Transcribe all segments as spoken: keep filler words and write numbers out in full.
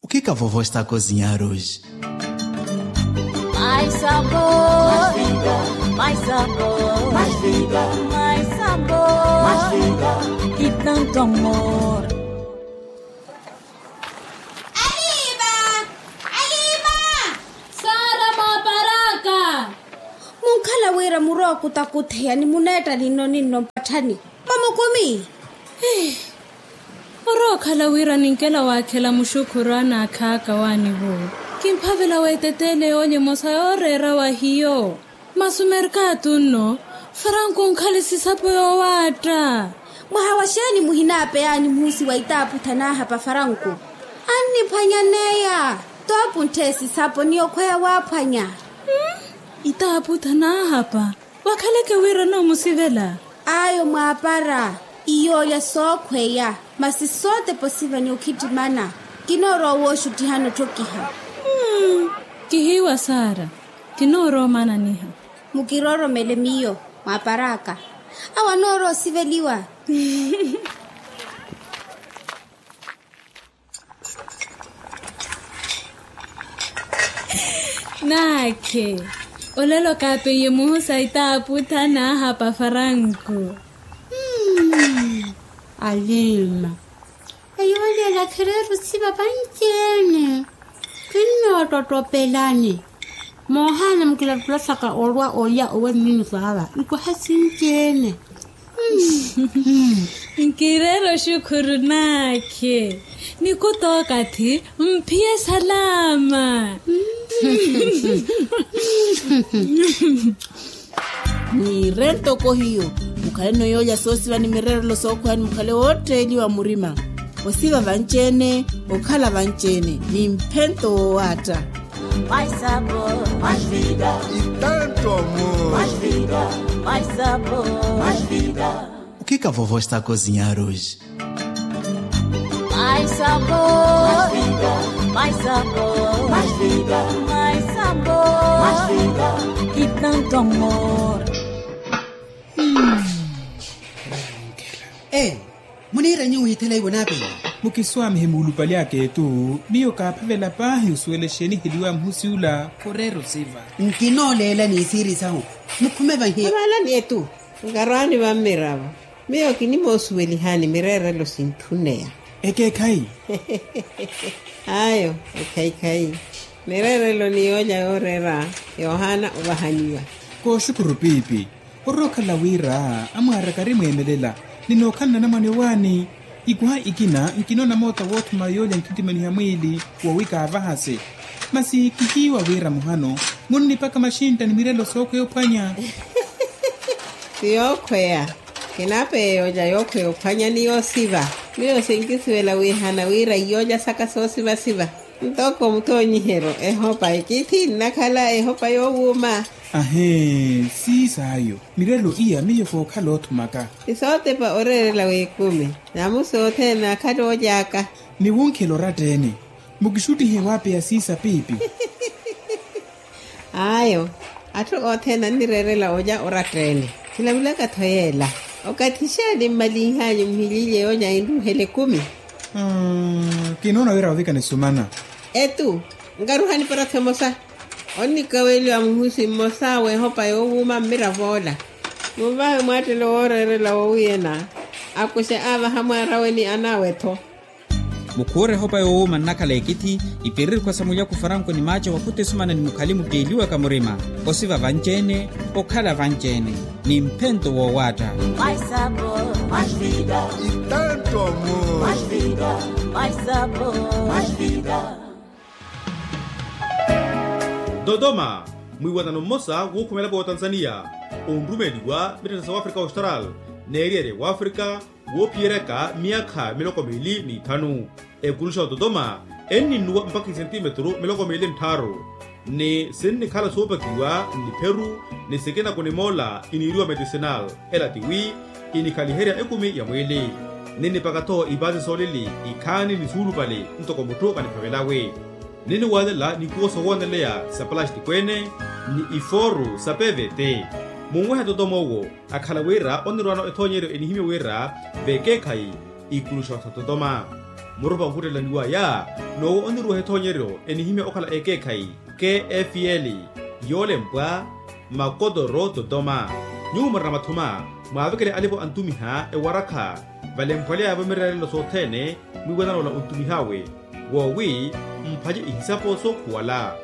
O que que a vovó está a cozinhar hoje? Mais sabor, mais vida, mais sabor, mais vida, mais sabor, mais vida, e tanto amor. Aliva! Aliva! Sara Mwaparaka! Munkhala wira murookutakuttheya ni muneetta ninno ninno mpatthani. Mamukumi. Orookhala wira ninkela waakhela muxukhuru anaakhaaka waanivo. Kimphavela weeteteele yoolya emosa yooreera wa hiyo. Masi omerkatu nno, faranku onkhale sisapo yoowaatta. Mwaha wa xeeni muhinaapeyaani muhusi wa itaaputtha naahapa faranku? Anniphwanyaneya. Toopunttheye sisapo ni okhweya waaphwanya. Itaaputtha naahapa. Wakhaleke wira noomusivela. Ayo mwaapara. Iyoolya sookhweya. Masi sootepa osiva ni okhittimana. Kinoorowa wooxuttihana otthokiha. Kihiiwa sara. Kinoorowa omananiha. Mukirooromele miyo mwaapar'aka. Awo anoorowa osiveliwa. Naakhe. Olelo kaapeiye muhusa itaaputtha naahapa faranku. Alima. Eyo olela khireera osiva vanci-ene. Khinnootottopelani. Moohaana mukilattula saka olwa olya owe mmiyo saava ikwaha sinci-ene. Nkireera oxukhuru naakhe. Nikuta okathi mphiye salaama. Niire ntoko hiyo. Mukhaleno yoolya soosiva ni mireerelo sookhweya ni mukhale wootteeliwa murima. Osiva vanci-ene. Okhala vanci-ene ni mphento woowaatta. Mais sabor, mais vida. E tanto amor. Mais vida, mais sabor, mais vida. O que que a vovó está a cozinhar hoje? Mais sabor, mais vida, mais sabor, mais vida, mais sabor, mais vida, e tanto amor. Muniira nyuwo withela iwo naapiya. Mukiswaamihe muulupali aka etu. Miyo kaaphavela paahi osuwela exeeni eheliwa muhusi ula. Khureera osiva. Nkinooleela ni isiiri sahu. Mukhume vahi. Avalani etu. Nkarwaani vammiravo. Miyo kinimoosuwelihani mireerelo sintthuneya. Ekeekhayi. Ayo. Ekhayikhayi. Mireerelo ni yoolya yooreera yoohaana ovahaniwa. Kooxukhuru piipi. Orookhala wira amwaaraka ari mweemelela. Ninookhala nanamwane owaani. Ikwaha ikina nkinoona moota woothuma yoolya nkhittimaniha mwiili. Wowi kaavahase. Masi kihiiwa wira muhano munnipaka maxintta ni mirelo sookhweya ophwanya. Ti yookhweya. Kinaapeya yoolya yookhweya ophwanya ni yoosiva. Miyo sinkisuwela wiihana wira iyoolya saka soosivasiva. Ntoko muthoonyiheryo ehopa ekithi nnakhala ehopa yoowuuma. Ahee. Siisaayo. Mirelo iya miyo kookhala oothumaka. Isootepa oreerela w'ekumi. Namusi othene akhala ooly'aka. Ni wunkhela oratta-ene. Mukixuttihe waapeya siisa piipi. Ayo. Atthu othene annireerela olya oratta-ene. Khilavilaka-tho yeela. Okathi xeeni mmalinh'anyu muhililye yoolya enruuhela ekumi. Kinoona wira ovikana esumana. Etu. Nkaruhani para-tho emosa. Onnikaweliwa muhusi mmosa w'ehopa yoowuuma mmirav'ola. Munvahe mwaattelo wooreerela wowiyana. Akuxe aavaha mwaar'awe ni an'awe-tho. Mukhuure ehopa yoowuuma nnakhala ekithi. Ipiriri khwasa mulyaku faranku ni maaco wakhuta esumana ni mukhali mutteeliwaka murima. Osiva vanci-ene. Okhala vanci-ene. Ni mphento woowaatta. Dodoma. Mwiiwanano mmosa wuukhumelapo wa otanzaniya onrumeeliwa mittettha sa wafrika austral n'eriyari ya wafrika woophiyeryaka miyakha miloko miili n'ithanu. Ekuluxa wa dodoma enninnuwa mpakha isentimetru miloko miili n'tthaaru. Ni sinnikhala soopakiwa n'ipheru ni sikina kunimoola iniiriwa medicinal. Ela tiwi inikhaliherya ekumi ya mwiili. Ninnipaka-tho ipaasi soolili ikhaani ni suulupale ntoko mutthu kaniphavelawe. Ninniwaalela nikuwo sowooneleya sa palastiko ene ni ifooru sa pvt. Munwehe totoma owo akhala wira onnirwaano ethoonyeryo enihimye wira vekeekhayi ikuluxa otha totoma. Murupa onkhuttelaniwaya n'uwo oniruweha ethoonyeryo enihimya okhala ekeekhayi, kfl, yoolempwa, makotoro totoma. Nyuwo murina mathuma, mwaavekele alipo antumiha ewarakha, valemphwaleya-vo mireerelo sothene, mwiiwanana ola ontumih'awe, woowi mphace ihisapo sookhuwala.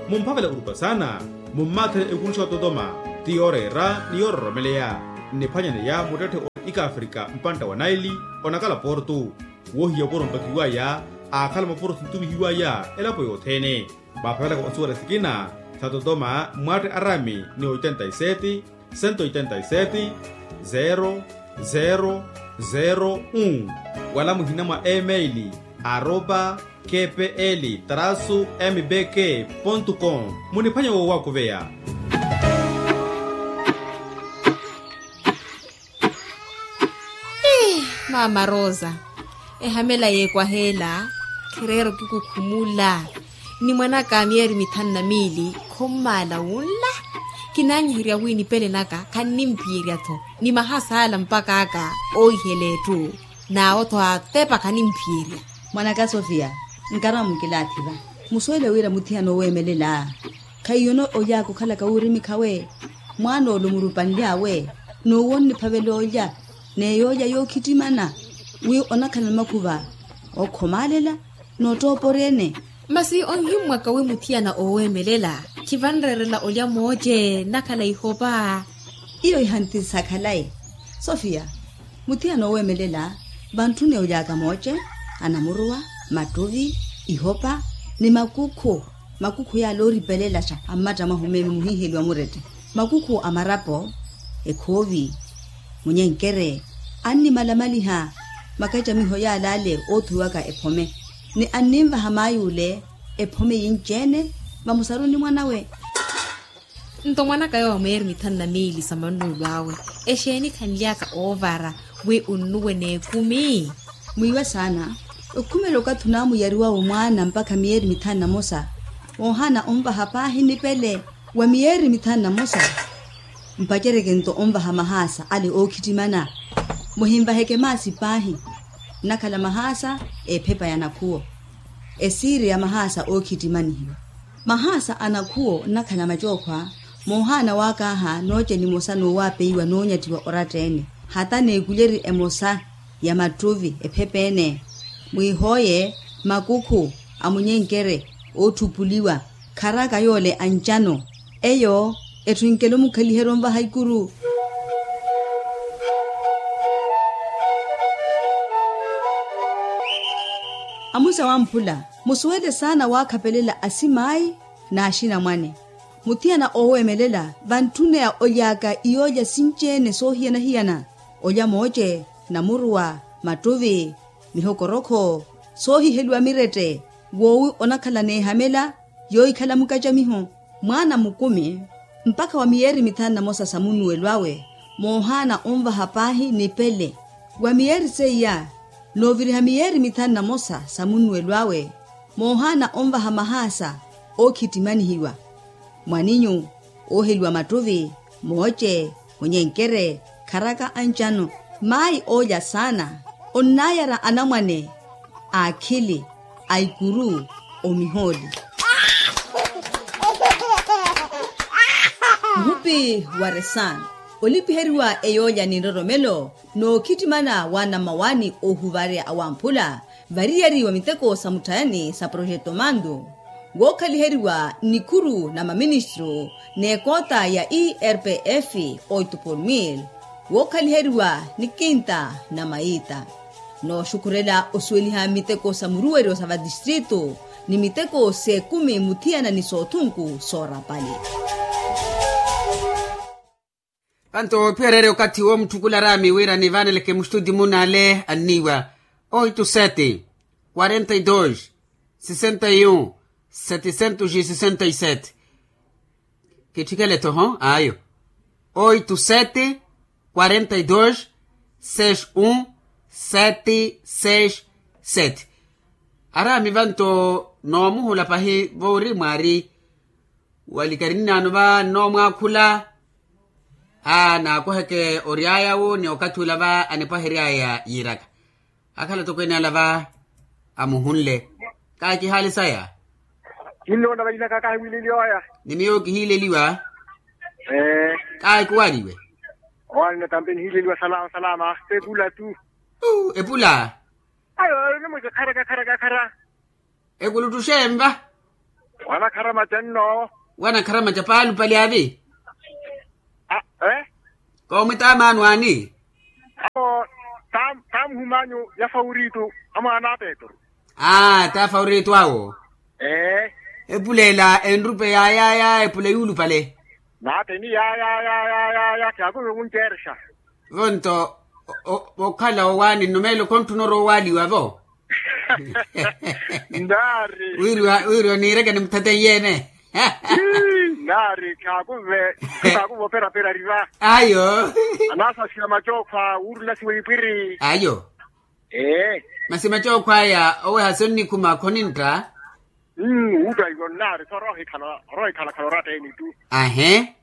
Mumphavale orupa saana, mummaathele ekuruxa ototoma, ti yooreera ni yoororomeleya. Nniphwanyaneya muttetthe wa ikafrika mpantta wa naili, onakala portu, woohiya opuro mpakiwaya, aakhala mapuro sintumihiwaya elapo yothene. Mwaaphavelaka onsuwela sikina sa totoma, mwatte araami ni oitenta y sete, sento oitenta y sete, zero zero zero un, wala muhina mwa email, arroba kpl trasu mbk pontu com. Muniphwanya woowakuveya. Ii, maama rosa, ehamela yeekwaha ela, khireera okikukhumula. Ni mwan'aka a miyeeri mithanu na miili khommaala wunla. Kinaanyiherya wi nipele naka khannimphiyerya-tho, ni mahaasa ala mpakha aka oohihela etthu, n'awo-tho atepa khannimphiyerya. Mwan'aka sofia, nkarama mukilaathi va, musuwele wira muthiyana oweemelela, khaiyona oly'aka okhalaka wuurimikhawe. Mwaan'ole omurupanly'awe, n'uwo onniphavela olya, n'eyoolya yookhittimana, wi onakhala ni makhuva ookhomaalela, n'ottooporya-ene. Masi onhimmwaka wi muthiyana ooweemelela, khivanreerela olya mooce nakhala ihopa. Iyo ihanti sakhalayi. Sofia, muthiyana ooweemelela, vantthuni oly'aka mooce, anamuruwa, mattuvi, ihopa, ni makukhu. Makukhu yaala ooripelelaxa a mmatta mwahu meeme muhiiheliwa murette, makukhu a marapo, ekhoovi, munyenkere, annimalamaliha makacamiho yaala ale oothuwiwaka ephome, ni anninvaha maay'ule ephome yinci-ene, vamusaruni mwan'awe. Nto mwan'aka yowo a miyeeri mithanu na miili sa mannuwelo awe, exeeni khanly'aka oovara wi onnuwe n'ekumi? Mwiiwe saana, okhumela okathi onaamuyariwawe mwaana mpakha miyeeri mithanu na mosa, woohaana onvaha paahi nipele wa miyeeri mithanu na mosa. Mpacereke nto onvaha mahaasa ale ookhittimana. Muhinvaheke maasi paahi, nnakhala mahaasa ephepa ya nakhuwo, esiiri ya mahaasa ookhittimanihiwa. Mahaasa a nakhuwo nnakhala macookhwa, moohaana waakaaha nooce nimosa n'uwaapeiwa n'unyattiwa oratta-ene, hata n'ekulyeri emosa ya mattuvi ephepa-ene. Mwiihooye makukhu a munyenkere ootthupuliwa, kharaka yoole ancano, eyo etthu enkela omukhaliherya onvaha ikuru. Amusa wamphula, musuwele saana waakhapelela asimaayi n'axinamwane. Muthiyana ooweemelela vantthuneya oly'aka iyoolya sinci-ene soohiyana-hiyana, olya mooce, namuruwa, mattuvi, mihokorokho, soohiheliwa mirette, woowi onakhala n'ehamela yoohikhala mukacamiho. Mwaana mukumi mpakha wa miyeeri mithanu na mosa sa munnuwelo awe, moohaana onvaha paahi nipele. Wa miyeeri seiya, nooviriha miyeeri mithanu na mosa sa munnuwelo awe, moohaana onvaha mahaasa ookhittimanihiwa, mwaninyu, ooheliwa mattuvi, mooce, munyenkere, kharaka ancano. Maayi oolya saana onnaayara anamwane a akhili, a ikuru, omihooli. Muhupi wa resan, olipiheriwa eyoolya ni nroromelo, nookhittimana wa namawaani oohuvarya awamphula, variyari wa miteko sa mutthayani sa projeto mandu, wookhaliheriwa nnikhuru na maministru n'ekoota ya erpf, oito por mil, wookhaliheriwa ni kinta na maita. Nooxukhurela osuweliha miteko sa muruweryo sa vatistritu, ni miteko s'ekumi muthiyana ni soothunku soorapali. Panto ophiyererya okathi woomutthukularaami wira nivaaneleke muxituti munale anniiwa, oito sete, quarenta y dos, sessenta y un, setecentos e sessenta y sete. Kitthikele-tho ayo, oito sete, quarenta y dos, seis un, sete seis sete. Araami vanto noomuhula pahi voori mwaari walikari nnaano va nnoomwaakhula. Aa naakuheke ory'aya wu ni okathi ula va anipwahery'aya yiiraka, akhala tokweene ala va. Amuhunle. Kahi kihaali saya. Kinnoona vainaka kahi wiileliwa oya. Ni miyo kihiileliwa. Kahi kuwaliwe. Owanna tampe nihiileliwa salama salama epula tu. Epula. Ayo nimweke khara kakhara kakhara. Ekuluttuxe enva. Wanakhara maca nno. Wanakhara maca paalu pali avi. Koomwitaamaanu ani. Apo. Taamuhumanyu ya fawuritu. Amwaana a petru. Aa ta fawuritu awo. Ee. Epula ela enrupe yaayaya epula yuulupale. Naateni yaayaya. Khyakuve wunceerexa. Vonto. Okhala owaani nnumeelo khontthuna orowa owaaliwa vo. Nnaari. Wiiriwa wiiriwa niireke ni mutheteyi yeene. Nnaari khaakuve. Khaakuve operapera riva. Ayo. Anaasasiya macookhwa wuurulasiwa ipwiri. Ayo. Ee. Masi macookhwa aya oweha sonnikhuma khonintta. Wuutta ivo nnaari so oroohikhala oratta eni tu. Ahe.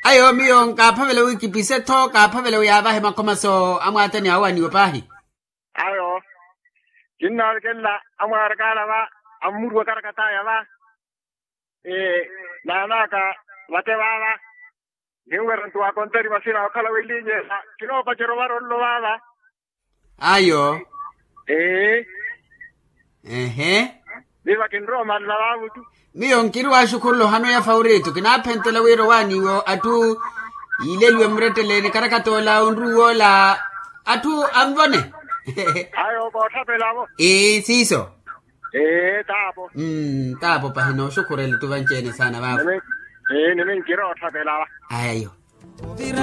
Ayo miyo nkaaphavela wi kipise-tho kaaphavela wi yaavahe makhomaso amwaatani awaniwe paahi. Ayo. Kinnaalekelela amwaarakaala va. Ammuriwa karakataya va. Naanaka vate vaava. Ninwerya nto waakontari vasina okhala welinyela. Kinoopacerya ovara onlo vaava. Ayo. Ee. Ehe. Viva kinrowa omanna vaavutu. Miyo nkiri waaxukhurula ohano ya fawuritu kinaaphentela wira owaaniwe atthu yiileliwe murettele ni karakatoola onruw'ola. Atthu anvone. Ayo koothapelavo. Ee siiso. Ee taapo. Taapo pahi nooxukhurela tu vanci-ene saana vaavo. Ee nimi nkiri oothapelava. Ayo.